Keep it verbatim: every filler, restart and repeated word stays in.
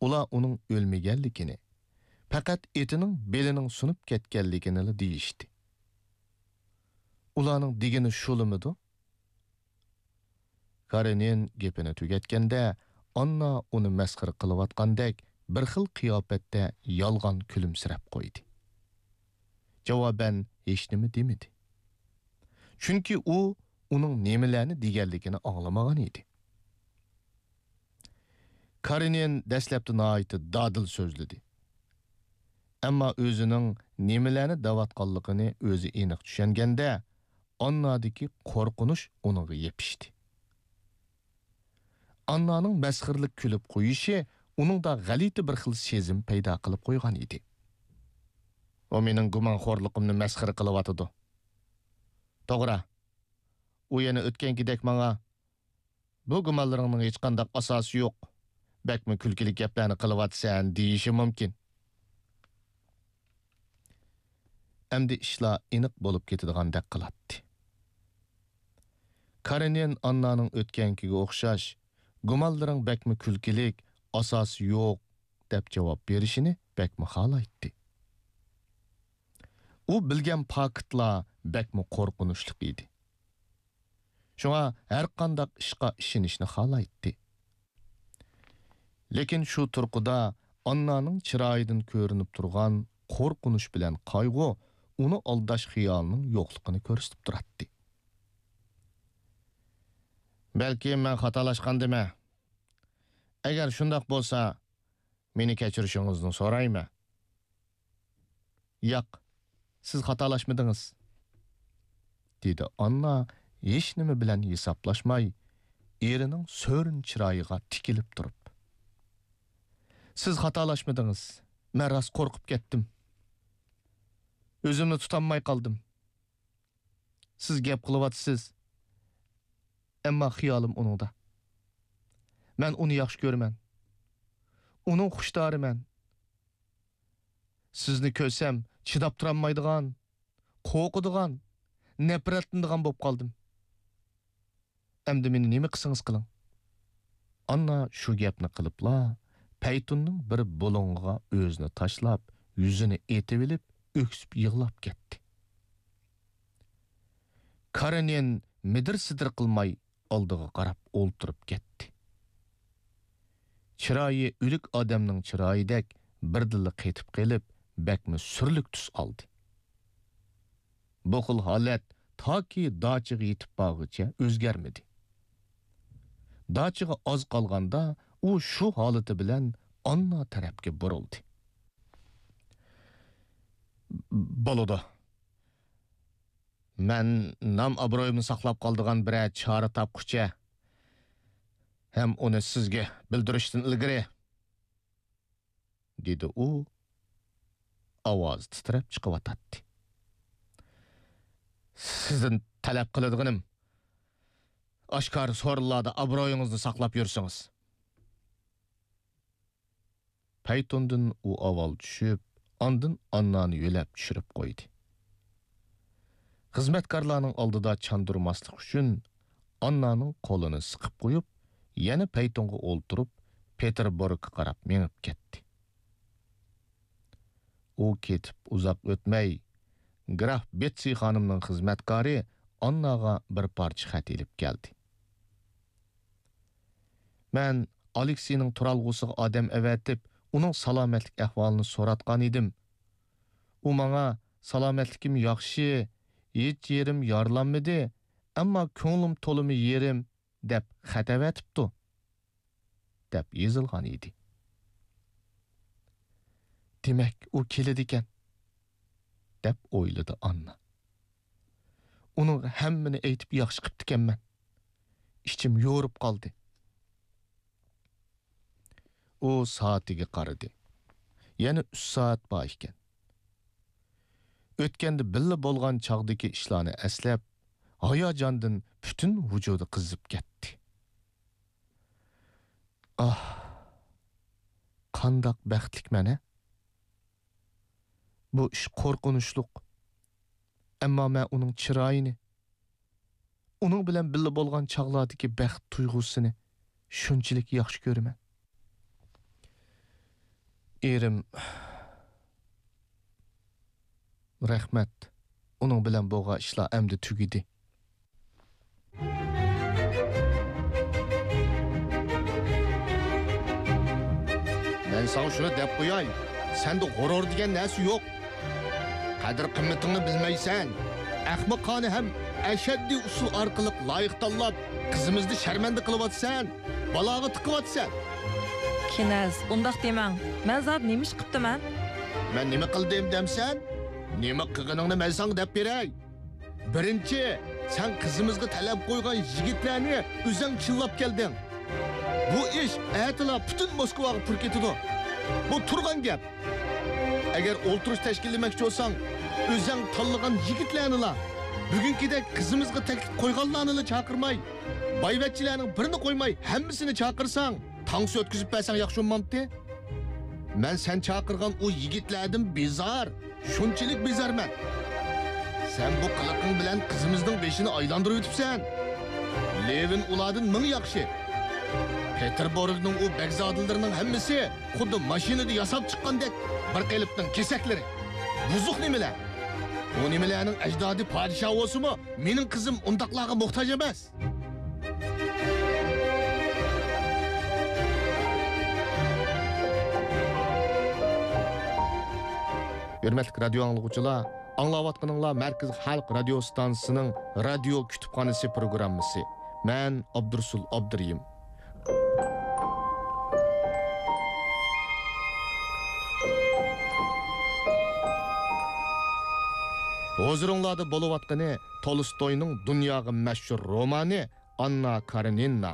ئۇلار ئۇنىڭ ئۆلمىگەنلىكىنى، پەقەت ئېتىنىڭ بېلىنىڭ سۇنۇپ كەتكەنلىكىنىلا دېيىشتى. ئۇلارنىڭ دېگىنى شۇلىمىدۇ؟ كارېنىن گېپىنى تۈگەتكەندە، ئاننا ئۇنى مەسخىرە قىلىۋاتقاندەك بىر خىل قىياپەتتە يالغان كۈلۈمسىرەپ قويدى. جاۋابەن ھېچنېمە دېمىدى. چۈنكى ئۇ ئۇنىڭ نېمىلەرنى دېگەنلىكىنى ئاڭلىمىغان ئىدى. كارېنىن دەسلەپتە ناھايىتى دادىل سۆزلىدى. ئەمما ئۆزىنىڭ نېمىلەرنى دەۋاتقانلىقىنى ئۆزى ئېنىق چۈشەنگەندە، ئاننادىكى قورقۇنچ ئۇنىڭغا يېپىشتى. ئاننانىڭ مەسخىرىلىك كۈلۈپ قويۇشى ئۇنىڭدا غەلىتە بىر خىل سېزىم پەيدا قىلىپ قويغان ئىدى. ئۇ مېنىڭ گۇمانخورلۇقۇمنى مەسخىرە قىلىۋاتىدۇ. توغرا، ئۇ يەنە ئۆتكەنكىدەك ماڭا، «بۇ گۇمانلىرىڭنىڭ ھېچقانداق ئاساسى يوق، بەكمۇ كۈلكىلىك گەپلەرنى قىلىۋاتىسەن» دېيىشى مۇمكىن. ئەمدى ئىشلار ئېنىق بولۇپ كېتىدىغاندەك قىلاتتى. كارېنىن ئاننانىڭ ئۆتكەنكىگە ئوخشاش، «گۇمانلىرىڭ بەكمۇ كۈلكىلىك، ئاساسى يوق» دەپ جاۋاب بېرىشىنى بەكمۇ خالايتتى. ئۇ بىلگەن پاكىتلار بەكمۇ قورقۇنچلۇق ئىدى. شۇڭا ھەرقانداق ئىشقا ئىشىنىشنى خالايتتى. لېكىن شۇ تۇرقىدا ئاننانىڭ چىرايىدىن كۆرۈنۈپ تۇرغان قورقۇنچ بىلەن قايغۇ ئۇنى ئالداش خىيالىنىڭ يوقلۇقىنى كۆرسىتىپ تۇراتتى. «بەلكىم مەن خاتالاشقاندىمەن. ئەگەر شۇنداق بولسا، مېنى كەچۈرۈشىڭىزنى سورايمەن.» «ياق، سىز خاتالاشمىدىڭىز»، دېدى ئاننا ھېچنېمە بىلەن ھېسابلاشماي، ئېرىنىڭ سۆرۈن چىرايىغا تىكىلىپ تۇرۇپ. «سىز خاتالاشمىدىڭىز. مەن راست قورقۇپ كەتتىم. ئۆزۈمنى تۇتالماي قالدىم. سىز گەپ قىلىۋاتىسىز، ئەمما خىيالىم ئۇنىڭدا. مەن ئۇنى ياخشى كۆرىمەن. ئۇنىڭ خۇشتارىمەن. سىزنى كۆرسەم، چىداپ تۇرالمايدىغان، قورقىدىغان، نەپرەتلىنىدىغان بولۇپ قالدىم. ئەمدى مېنى نېمە قىلسىڭىز قىلىڭ.» ئاننا شۇ گەپنى قىلىپلا، پەيتۇننىڭ بىر بۇلۇڭىغا ئۆزىنى تاشلاپ، يۈزىنى ئېتىۋېلىپ، ئۆكسۈپ يىغلاپ كەتتى. كارېنىن مىدىر-سىدىر قىلماي ئالدىغا قاراپ ئولتۇرۇپ كەتتى. چىرايى ئۆلۈك ئادەمنىڭ چىرايىدەك بىردىنلا قېتىپ قېلىپ، بەكمۇ سۈرلۈك تۈس ئالدى. بۇ خىل ھالەت تاكى داچىغا يېتىپ بارغۇچە ئۆزگەرمىدى. داچىغا ئاز قالغاندا ئۇ شۇ ھالىتى بىلەن ئاننا تەرەپكە بۇرۇلدى. بولىدۇ. مەن نام-ئابرۇيۇمنى ساقلاپ قالىدىغان بىرەر چارە تاپقۇچە ھەم ئۇنى سىزگە بىلدۈرۈشتىن ئىلگىرى، دېدى ئۇ، ئاۋازى تىترەپ چىقىۋاتاتتى. سىزدىن تەلەپ قىلىدىغىنىم، ئاشكارا سورۇنلاردا ئابرۇيىڭىزنى ساقلاپ يۈرسىڭىز. پەيتۇندىن ئۇ ئاۋۋال چۈشۈپ، ئاندىن ئاننانى يۆلەپ چۈشۈرۈپ قويدى. خىزمەتكارلارنىڭ ئالدىدا چاندۇرماسلىق ئۈچۈن، ئاننانىڭ قولىنى سىقىپ قويۇپ، يەنە پەيتۇنغا ئولتۇرۇپ، پېتېربۇرگقا قاراپ مېڭىپ كەتتى. ئۇ كېتىپ ئۇزاق ئۆتمەي، گراف بېتسى خانىمنىڭ خىزمەتكارى ئانناغا بىر پارچە خەت ئېلىپ كەلدى. مەن ئالېكسىينىڭ تۇرالغۇسىغا ئادەم ئەۋەتىپ، ئۇنىڭ سالامەتلىك ئەھۋالىنى سوراتقان ئىدىم. ئۇ ماڭا، «سالامەتلىكىم ياخشى، ھېچ يېرىم يارىلانمىدى، ئەمما كۆڭلۈم تولىمۇ يېرىم» دەپ خەت ئەۋەتىپتۇ، دەپ يېزىلغان ئىدى. «دېمەك، ئۇ كېلىدىكەن» دەپ ئويلىدى ئاننا. «ئۇنىڭغا ھەممىنى ئېيتىپ ياخشى قىپتىكەنمەن. ئىچىم يورۇپ قالدى.» ئۇ سائىتىگە قارىدى. يەنە ئۈچ سائەت بار ئىكەن. ئۆتكەندە بىللە بولغان چاغدىكى ئىشلارنى ئەسلەپ، ھاياجاندىن پۈتۈن ۋۇجۇدى قىزىپ كەتتى. ئاھ، قانداق بەختلىكمەن-ھە! بۇ ئىش قورقۇنچلۇق. ئەمما مەن ئۇنىڭ چىرايىنى، ئۇنىڭ بىلەن بىللە بولغان چاغلاردىكى بەخت تۇيغۇسىنى شۇنچىلىك ياخشى كۆرىمەن. ئېرىم، رەھمەت. ئۇنىڭ بىلەن بولغان ئىشلار ئەمدى تۈگىدى. مەن ساڭا شۇنى دەپ قوياي، سەندە غۇرۇر دېگەن نەرسە يوق. قەدىر-قىممىتىڭنى بىلمەيسەن. ئەخمىقانە ھەم ئەشەددىي ئۇسۇل ئارقىلىق لايىق تاللاپ، قىزىمىزنى شەرمەندە قىلىۋاتىسەن، بالاغا تىقىۋاتىسەن. كىنەز، ئۇنداق دېمەڭ. مەن زادى نېمە ئىش قىپتىمەن؟ مەن نېمە قىلدىم دەمسەن؟ نېمە قىلغىنىڭنى مەن ساڭا دەپ بېرەي. بىرىنچى، سەن قىزىمىزغا تەلەپ قويغان يىگىتلەرنى ئۆزەڭ چىللاپ كەلدىڭ. بۇ ئىش ئەتىلا پۈتۈن موسكۋاغا پۇر كېتىدۇ. بۇ تۇرغان گەپ. ئەگەر ئولتۇرۇش تەشكىللىمەكچى بولساڭ، ئۆزەڭ تاللىغان يىگىتلەرنىلا، بۈگۈنكىدەك قىزىمىزغا تەكلىپ قويغانلارنىلا چاقىرماي، بايۋەچچىلەرنىڭ بىرىنى قويماي ھەممىسىنى چاقىرساڭ، تانسا ئۆتكۈزۈپ بەرسەڭ ياخشى بولمامتى؟ مەن سەن چاقىرغان ئۇ يىگىتلەردىن بىزار، شۇنچىلىك بىزارمەن. سەن بۇ قىلىقىڭ بىلەن قىزىمىزنىڭ بېشىنى ئايلاندۇرۇۋېتىپسەن. لېۋىن ئۇلاردىن مىڭ ياخشى. پېتېربۇرگنىڭ ئۇ بەگزادىلىرىنىڭ ھەممىسى خۇددى ماشىنىدا ياساپ چىققاندەك بىر قېلىپنىڭ كېسەكلىرى. بۇزۇق نېمىلەر؟ ئۇ نېمىلەرنىڭ ئەجدادى پادىشاھ بولسىمۇ، مېنىڭ قىزىم ئۇنداقلارغا موھتاج ئەمەس. ھۆرمەتلىك رادىيو ئاڭلىغۇچىلار، ئاڭلاۋاتقىنىڭلار مەركىزىي خەلق رادىيو ئىستانسىسىنىڭ رادىيو كۇتۇپخانىسى پروگراممىسى. مەن ئابدۇرۇسۇل ئابدۇرېھىم. ھۇزۇرۇڭلاردا بولۇۋاتقىنى تولستوينىڭ دۇنياغا مەشھۇر رومانى ئاننا كارېنىنا.